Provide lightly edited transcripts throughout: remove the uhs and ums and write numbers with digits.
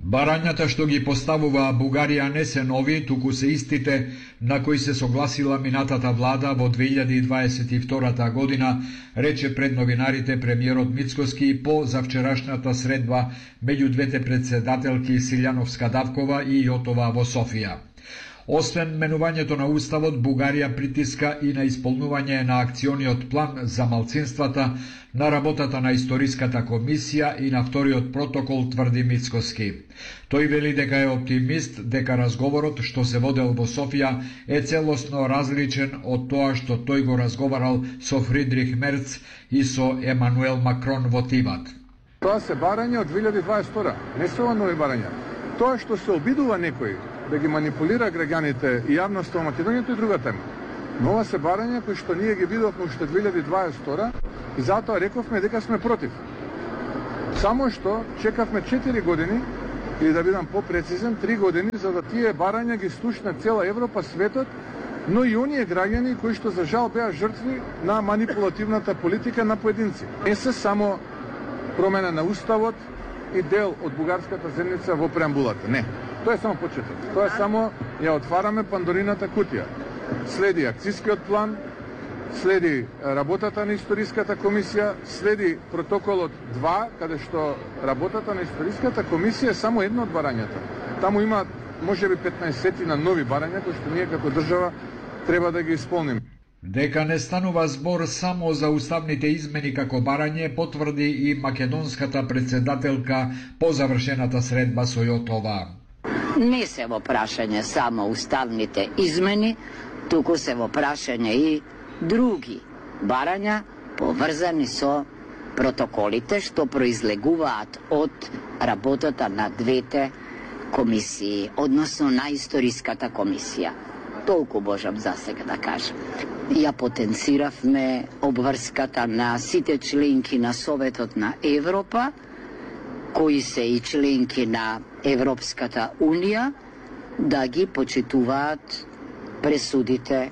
Барањата што ги поставува Бугарија не се нови, туку се истите на кои се согласила минатата влада во 2022 година, рече пред новинарите премиерот Мицкоски по завчерашната средба меѓу двете председателки Силјановска-Давкова и Јотова во Софија. Освен менувањето на уставот, Бугарија притиска и на исполнување на акциониот план за малцинствата, на работата на историската комисија и на вториот протокол, тврди Мицкоски. Тој вели дека е оптимист дека разговорот што се водел во Софија е целосно различен од тоа што тој го разговарал со Фридрих Мерц и со Емануел Макрон во Тиват. Тоа се барања од 2022, не се ова нови барања. Тоа што се обидува некој да ги манипулира граѓаните и јавноста во Македонија, тоа е друга тема. Но ова се барања кои што ние ги видовме уште 2022 и затоа рековме дека сме против. Само што чекавме 4 години, или да бидам попрецизен, 3 години, за да тие барања ги слушна цела Европа, светот, но и оние граѓани кои што за жал беа жртви на манипулативната политика на поединци. Не се само промена на уставот и дел од бугарската земјица во преамбулата. Не. Тоа е само почеток. Тоа е само ја отвараме Пандорината кутија. Следи акцискиот план, следи работата на историската комисија, следи протоколот 2, каде што работата на историската комисија е само едно од барањата. Таму има можеби 15 на нови барања кои што ние како држава треба да ги исполниме. Дека не станува збор само за уставните измени како барање, потврди и македонската председателка по завршената средба со Јотова. Не се во прашање само уставните измени, туку се во прашање и други барања поврзани со протоколите што произлегуваат од работата на двете комисии, односно на историската комисија. Толку можам за сега да кажам. Ја потенциравме обврската на сите членки на Советот на Европа, кои се и членки на Европската Унија, да ги почитуваат пресудите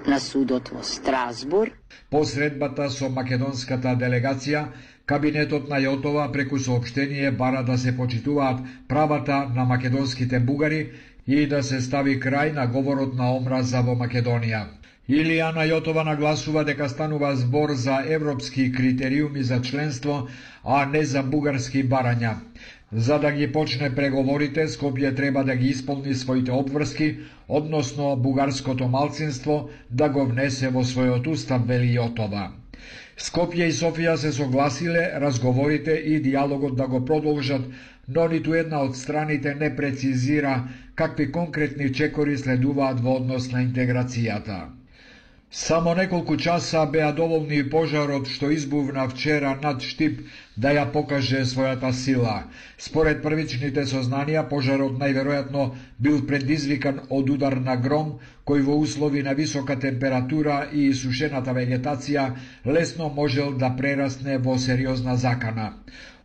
на судот во Страсбур. По средбата со македонската делегација, кабинетот на Јотова преку соопштение бара да се почитуваат правата на македонските бугари и да се стави крај на говорот на омраза во Македонија. Илијана Јотова нагласува дека станува збор за европски критериуми за членство, а не за бугарски барања. За да ги почне преговорите, Скопје треба да ги исполни своите обврски, односно бугарското малцинство да го внесе во својот устав, вели Јотова. Скопје и Софија се согласиле разговорите и диалогот да го продолжат, но ниту една од страните не прецизира какви конкретни чекори следуваат во однос на интеграцијата. Само неколку часа беа доволни пожарот што избувна вчера над Штип да ја покаже својата сила. Според првичните сознанија, пожарот најверојатно бил предизвикан од удар на гром, кој во услови на висока температура и сушената вегетација лесно можел да прерасне во сериозна закана.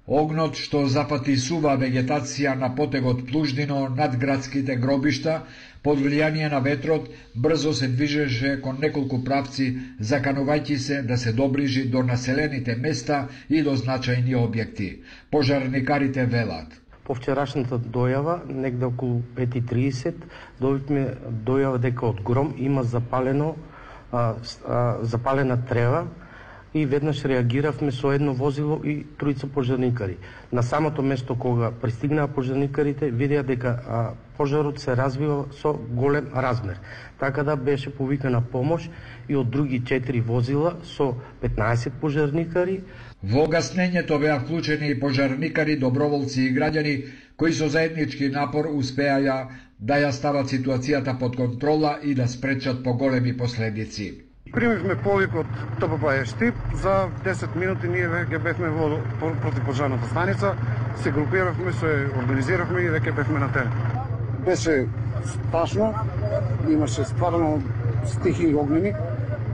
Огнот што запати сува вегетација на потегот Плуждино над градските гробишта, под влијание на ветрот, брзо се движеше кон неколку правци, заканувајќи се да се доближи до населените места и до значајни објекти. Пожарникарите велат. По вчерашната дојава, негде околу 5:30, добивме дојава дека од гром има запалена трева, и веднаш реагиравме со едно возило и тројца пожарникари. На самото место кога пристигнаа пожарникарите, видеа дека пожарот се развива со голем размер. Така да беше повикана помош и од други 4 возила со 15 пожарникари. Во гаснењето беа вклучени и пожарникари, доброволци и граѓани кои со заеднички напор успеаја да ја стават ситуацијата под контрола и да спречат поголеми последици. Примивме повик од ТПП Штип, за 10 минути ние веќе бевме во противпожарната станица, се групиравме, се организиравме и веќе бевме на терен. Беше страшно, имаше стварно стихи огнени,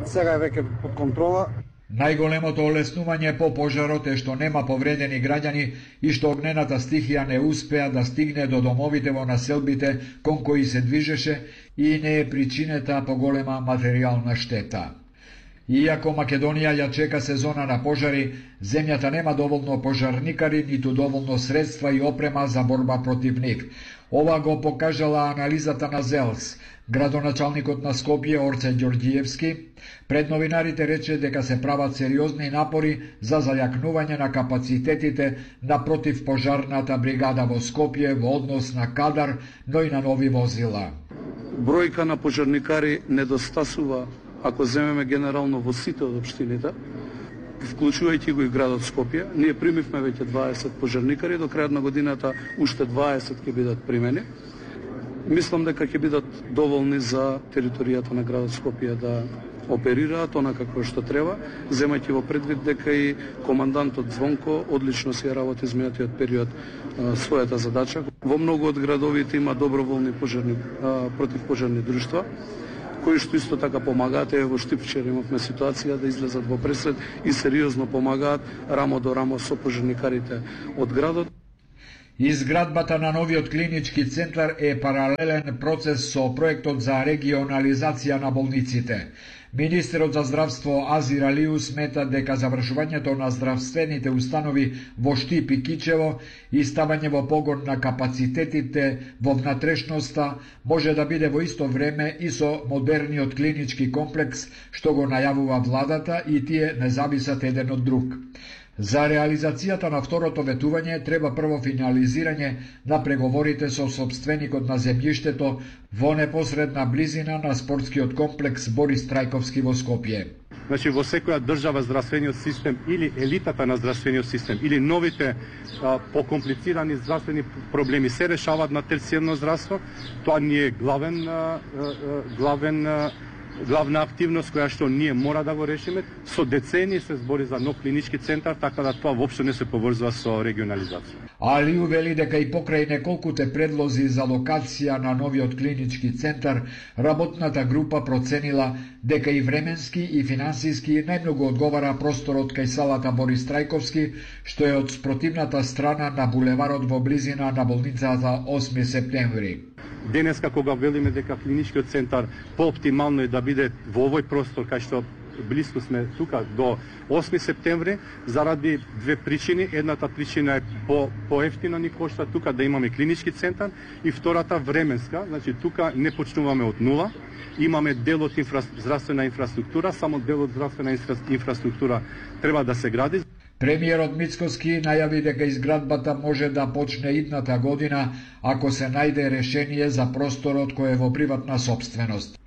сега е веќе под контрола. Најголемото олеснување по пожарот е што нема повредени граѓани и што огнената стихија не успеа да стигне до домовите во населбите кон кои се движеше и не е причинета поголема материјална штета. Иако Македонија ја чека сезона на пожари, земјата нема доволно пожарникари, ниту доволно средства и опрема за борба против нив. Ова го покажала анализата на ЗЕЛС. Градоначалникот на Скопје Орце Ѓорѓиевски пред новинарите рече дека се прават сериозни напори за зајакнување на капацитетите на противпожарната бригада во Скопје во однос на кадар, но и на нови возила. Бројка на пожарникари недостасува ако земеме генерално во сите од општините, вклучувајќи го и градот Скопје. Ние примивме веќе 20 пожарникари, до крајот на годината уште 20 ќе бидат примени. Мислам дека ќе бидат доволни за територијата на градот Скопје да оперираат онака како што треба, земајќи во предвид дека и командантот Звонко одлично си ја работи изминатиот период својата задача. Во многу од градовите има доброволни противпожарни друштва, кои што исто така помагаат. Во Штипчер имавме ситуација да излезат во пресред и сериозно помагаат рамо до рамо со пожарникарите од градот. Изградбата на новиот клинички центар е паралелен процес со проектот за регионализација на болниците. Министерот за здравство Азир Алиу смета дека завршувањето на здравствените установи во Штип и Кичево и ставање во погон на капацитетите во внатрешноста може да биде во исто време и со модерниот клинички комплекс што го најавува владата и тие не зависат еден од друг. За реализацијата на второто ветување треба прво финализирање на преговорите со сопственикот на земјиштето во непосредна близина на спортскиот комплекс Борис Трајковски во Скопје. Значи во секоја држава здравствениот систем или елитата на здравствениот систем или новите покомплицирани здравствени проблеми се решаваат на терцијерно здравство. Тоа не е главна активност која што ние мора да го решиме. Со децени се збори за нов клинички центар, така да тоа воопшто не се поврзува со регионализација. Алиу вели дека и покрај неколкуте предлози за локација на новиот клинички центар, работната група проценила дека и временски и финансиски најмногу одговара просторот кај салата Борис Трајковски, што е од спротивната страна на булеварот во близина на болницата 8 септември. Денеска кога велиме дека клиничкиот центар пооптимално е да биде во овој простор кај што блиску сме тука до 8 септември, заради две причини. Едната причина е поевтино ни кошта тука да имаме клинички центар и втората временска, значи тука не почнуваме од нула. Имаме дел од здравствена инфраструктура, само дел од здравствена инфраструктура треба да се гради. Премиерот Мицкоски најави дека изградбата може да почне идната година ако се најде решение за просторот кој е во приватна сопственост.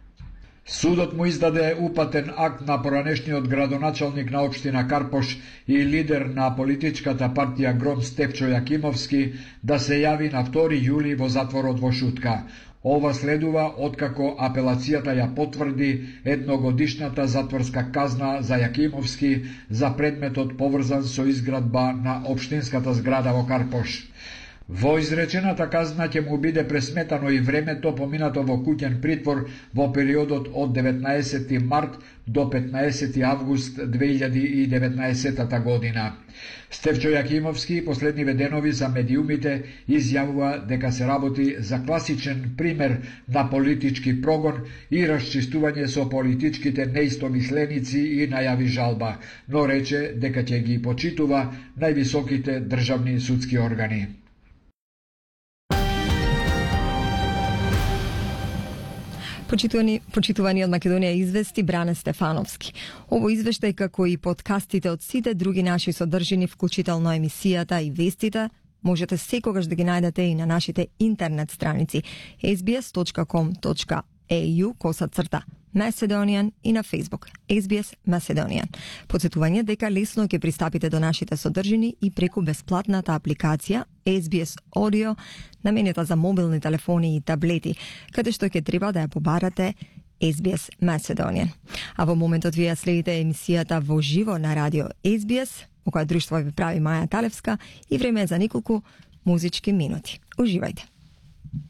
Судот му издаде упатен акт на поранешниот градоначалник на општина Карпош и лидер на политичката партија Гром Стефчо Јакимовски да се јави на 2 јули во затворот во Шутка. Ова следува откако апелацијата ја потврди едногодишната затворска казна за Јакимовски за предметот поврзан со изградба на општинската зграда во Карпош. Во изречената казна ќе му биде пресметано и времето поминато во куќен притвор во периодот од 19. март до 15. август 2019 година. Стефчо Јакимовски последниве денови за медиумите изјавува дека се работи за класичен пример на политички прогон и расчистување со политичките неистомисленици и најави жалба, но рече дека ќе ги почитува највисоките државни судски органи. Почитувани од Македонија извести Бране Стефановски. Ово извештај како и подкастите од сите други наши содржини, вклучително емисијата и вестите, можете секогаш да ги најдете и на нашите интернет страници sbs.com.au/Macedonian и на Facebook SBS Macedonian. Подсетување дека лесно ќе пристапите до нашите содржини и преку бесплатната апликација SBS Audio наменета за мобилни телефони и таблети, каде што ќе треба да ја побарате SBS Macedonian. А во моментот вие следите емисијата во живо на радио SBS, во која друштво ви прави Маја Талевска, и време е за неколку музички минути. Уживајте!